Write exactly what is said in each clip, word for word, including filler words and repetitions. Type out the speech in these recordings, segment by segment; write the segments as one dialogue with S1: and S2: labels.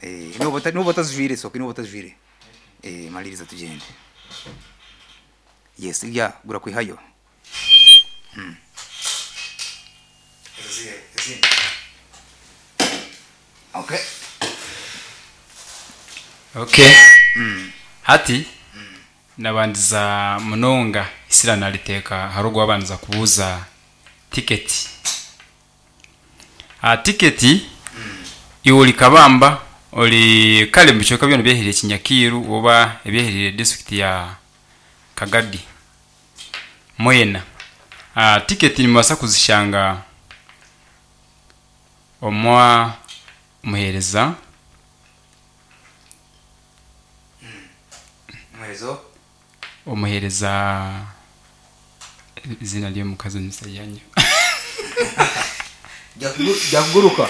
S1: Eh, noba ota- noba otazijwire, soke noba otazijwire. Eh, maliriza tugende. Yes, ya gura kwihayo. Mm. Okay.
S2: Okay, hati nabandiza munonga isira nariteeka hari ogwo wabandiza kubuuza tiketi. Ah, tiketi iwe ori Kabamba, ori kare mu bicweka byona ebyeherire Kinyakiiru oba ebyeherire district ya Kagadi mwena, Ah, tiketi nimubaasa kuzishanga omwa muheereza.
S1: Muherezo.
S2: Omuheereza, izina ry'omukazi omusajja.
S1: Byakuguruka.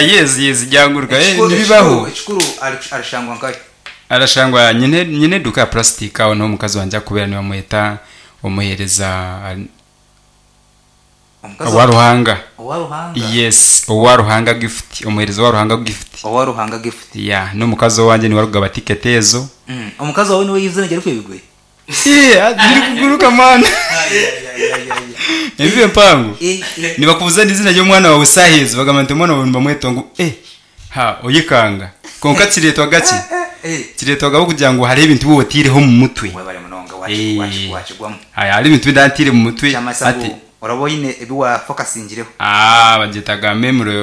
S2: Yes yes byanguruka. Eh,
S1: Ekikuru-
S2: nibibaho.
S1: Ekikuru ekikuru ari- arishangwa nkayo.
S2: Arashangwa nyine nyine eduka ya plastic aho niho omukazi wanje akubera, nibamweta omuheereza
S1: Omukazi.
S2: Owa Ruhanga.
S1: Owa Ruhanga.
S2: Yes, owa Ruhanga Gift, omuheereza wa Ruhanga Gift.
S1: Owa Ruhanga Gift.
S2: Ya, n'omukazi owanje niwe arikugaba tiketi ezo.
S1: Mm. Omukazi wawe niwe izina ryari kwebigwe.
S2: Eh, ndiri kuguruka mana, ebibe mpango.
S1: Eh, eh.
S2: Nibakubuza n'izina ry'omwana wawe sahizi, bagamba nti omwana wawe nibamweta ngu eh ha oyikanga, konka kireetwa gaki?
S1: Eh.
S2: Kireetwagaho kugira ngu hariho ebintu bi otiireho omu mutwe.
S1: Webale munonga.
S2: Eh.
S1: Wakigwamu.
S2: Haya, hariho ebintu bindantire mu mutwe.
S1: Kyamasa
S2: ati
S1: ngu oraba oyine ebi wafokasingireho.
S2: Ah, bagyetaga memory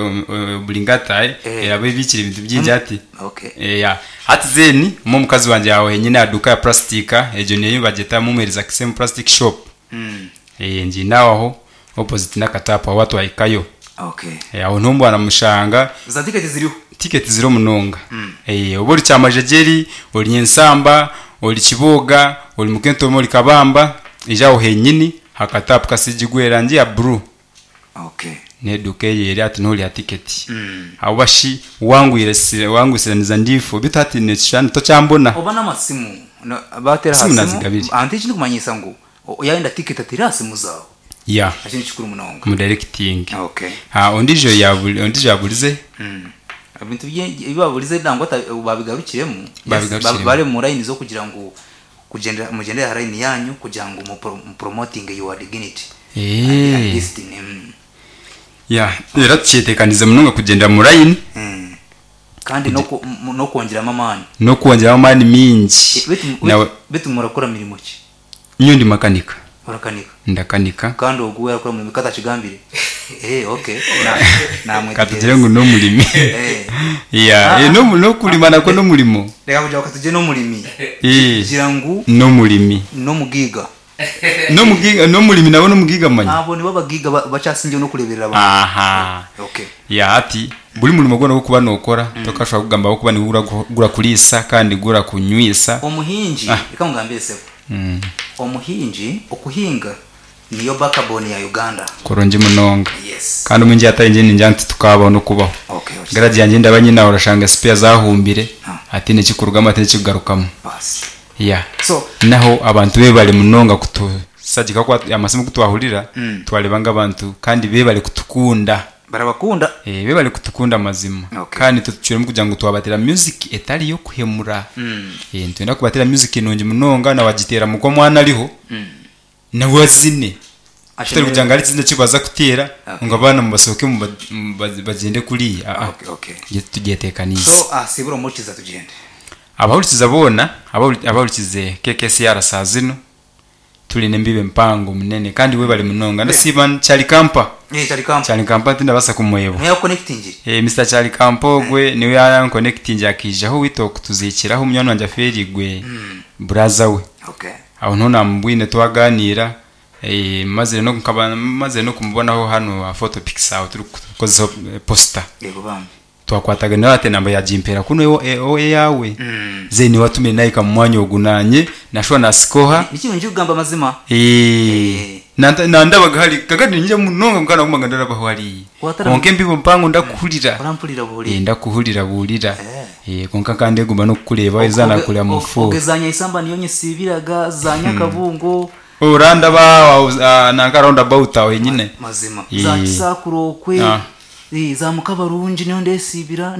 S2: obligata, eh.
S1: Eh.
S2: Eraba ebikire ebintu bingi ati.
S1: Okay.
S2: Eh, ya, hati zeni mo omukazi wanje aho henyine aduka ya plastika egyo niyo bagyeta mumuhereza Kisemu Plastic Shop.
S1: Mm.
S2: Eh, ngiinaho aho opposite n'akatapu aho watwahikayo.
S1: Okay.
S2: Eh, aho ntumbu aramushanga.
S1: Za tiketi ziriho.
S2: Tiketi ziri munonga. Eh, oba ori Kyamajegeri, ori Nyensamba, ori Kiboga, ori Mukentomo, ori Kabamba, ija aho henyini hakatapu kasigigwe erangi ya blue.
S1: Okay.
S2: N'eduka eyo eri ati noorya tiketi.
S1: Mm.
S2: Abo bashi wangwire wangwisiraniza ndifu bitu hati nekishushani tokyambona.
S1: Oba n'amasimu No, batera
S2: Simu
S1: ha
S2: nazigabire.
S1: Anti ekindi kumanyisa ngu o- yayenda tiketi atira simu zawe.
S2: Ya.
S1: Ekyo nikikuru munonga.
S2: Mudirecting.
S1: Okay.
S2: Ha, ondijo yabuli ondijo yaburize.
S1: Mm. Ebintu bye- ebi baburize nangwa ata- babigarukiremu. Yes,
S2: Babigarukiremu.
S1: ba- bari mu line zo kugira ngu kugendera mugendere ha line yanyu kugira ngu mu promoting your dignity and
S2: Eh.
S1: destiny. Mm.
S2: Ya, era tukyetekanize munonga kugendera mu line.
S1: Mm. Kandi no ku- mu- no kongeramo amaani.
S2: N'okwongyeramu amaani mingi.
S1: Eh, bitu-
S2: Nawe.
S1: bitu- bitu murakora mirimo ki?
S2: Nyo ndi makanika.
S1: Urakanika.
S2: Ndakanika.
S1: Kandi ogu we arakora mirimo katakigambire. Eh, okay, na namwe.
S2: Katugire ngu n'omurimi.
S1: Eh.
S2: Ya.
S1: Ah.
S2: Eh, no n'okulima nakwo n'omurimo.
S1: Reka kugira ngo katugire n'omurimi.
S2: Eh.
S1: Gira ngu
S2: N'omurimi.
S1: n'omugiga.
S2: N'omugiga, n'omurimi nawe n'omugiga manya.
S1: Abo nibo abagiga ba- bakyasingiye no kureberera abantu.
S2: Aha.
S1: Okay.
S2: Ya, ati buri murimo gwona gwokuba nokora tokashobora kugamba aho kuba nigura gura kuriisa kandi gura kunywisa.
S1: Omuhingi.
S2: Ah.
S1: Reka ngambire sebo.
S2: Mm.
S1: Omuhingi, okuhinga niyo backbone ya Uganda.
S2: Kurungi munonga.
S1: Yes.
S2: Kandi omungi atari nje ninja nti tukabaho no kubaho.
S1: Okay, okay.
S2: Garage yanjye ndaba nyina urashanga spare zahumbire.
S1: Ah.
S2: Ati nekikurugamu, ati nekikugarukamu.
S1: Basi.
S2: Ya.
S1: So
S2: naho abantu be bari munonga kutusagika kwa amasimu kutwahurira.
S1: Mm.
S2: Twareba ng'abantu kandi be bari kutukunda.
S1: Barabakunda.
S2: Eh, be bari kutukunda mazima.
S1: Okay.
S2: Kandi tutucuremu kugira ngu twabatera music etari yo kuhemura.
S1: Mm.
S2: Eh, nitwenda kubatera music nungi munonga nawagitera muko mwana ariho
S1: Mm.
S2: nawe azine tutari kugira ngo ari ikizina kibaza kutera
S1: Okay.
S2: ngo abana mubasohoke muba- muba- bagende kuriya. Ah, ah.
S1: Okay, okay.
S2: Tugiye tekanize.
S1: So ah sibura umukiza tugende.
S2: Abahurikiza boona, abahuri- abahurikize K K C R saa zino, tuli nembibe mpango munene kandi we bali munonga, ndasiba Kyali Kampa.
S1: Eh, cyari kampa.
S2: Kyali Kampa tindabasa kumwebo.
S1: Niyo connecting.
S2: Eh, Mister Kyali Kampa ogwe niwe yanconnecting akijaho wito kutuzikiraho munywani wanje aferigwe, braza we.
S1: Okay.
S2: Aho nto namubwine twaganira, eh, maze no nkaba maze no kumubonaho hano ha photo pics aho turi kukozeho poster.
S1: Yego bambi.
S2: Twakwataga nawe ate namba yagimpera kuno ewo ewo yawe.
S1: Mm.
S2: Ze ni watumire naye kamwanya ogunanye nashobora nasikoha.
S1: Niki nje kugamba amazima.
S2: Eh, nanda nandabaga hari kakati nje munonga mukana kumanga ndarabaho hari.
S1: Watara-
S2: Konke mbibo mpango ndakuhurira.
S1: Urampurira
S2: Eh,
S1: buri.
S2: Ndakuhurira burira.
S1: Eh.
S2: Eh, konka kandi gumba no kukureba izana kureba mu fu.
S1: Ogezanya isamba niyo nyisibiraga za Nyakabungo.
S2: Uranda ba nanga roundabout aho nyine.
S1: Mazima.
S2: Eh.
S1: Za Kisakurokwe.
S2: Ah.
S1: Eh, za Mukabarungi niyo ndesibira.